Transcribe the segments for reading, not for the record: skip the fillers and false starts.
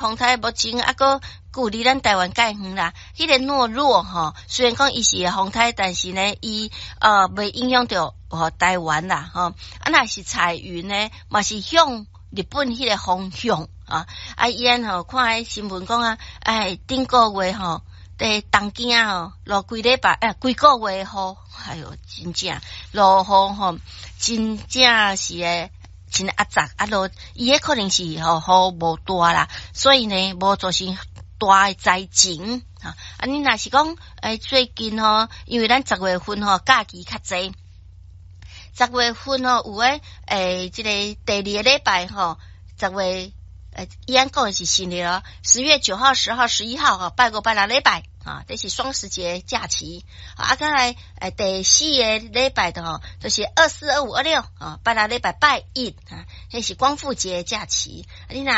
風颱目前猶閣距離咱台灣蓋遠啦。彼個諾若吼，雖然講伊是風颱，但是呢，伊袂影響著吼台灣啦吼。啊，若是彩雲呢，嘛是向日本彼個方向啊。啊，伊按吼看彼新聞講啊，哎，頂個月吼，佇東京吼落規禮拜，哎，規個月雨，哎喲，真正落雨吼，真正是會真壓榨啊！落伊彼可能是吼雨無大啦，所以呢無造成大的災情啊！啊，你若是講欸，最近吼，因為咱十月份吼假期較濟，十月份吼有的欸，這个第二个禮拜吼，十月欸，伊按講的是新曆咯，10月9號、10號、11號吼，拜五、拜六禮拜啊，這是雙十節假期。啊，閣來欸，第四个禮拜的吼，就是24、25、26啊，拜六禮拜拜一啊，彼是光復節假期。你若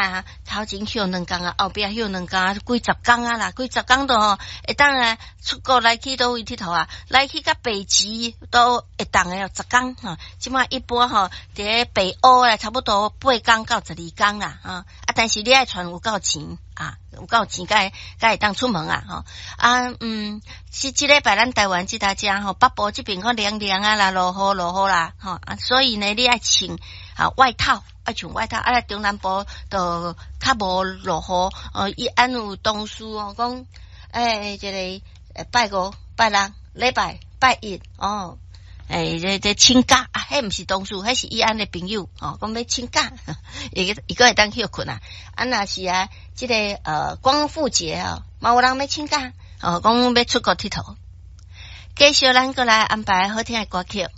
頭前歇兩工啊，後壁歇兩工啊，幾十工啊啦，幾十工都吼會當啊出國來去佗位𨑨迌啊，來去甲北極都會當的十工吼。這馬一般吼，佇咧北歐啊，差不多八工到12工啦，哈啊，但是你愛揣有夠錢啊，有夠錢才會當出門啊，吼啊嗯，是這禮拜咱台灣這搭遮吼，北部這邊較涼涼啊啦，落雨落雨啦，吼啊，所以呢，你愛穿啊外套，愛穿外套啊，中南部就較無落雨，哦，伊按有同事哦講，欸，這个拜五、拜六、禮拜拜一哦。欸，這這請假啊，彼毋是同事，彼是伊按的朋友哦，講欲請假，伊伊閣會當歇睏啊。啊，若是啊，這个光復節哦，嘛有人欲請假哦，講欲出國𨑨迌。繼續咱閣來安排好聽的歌曲。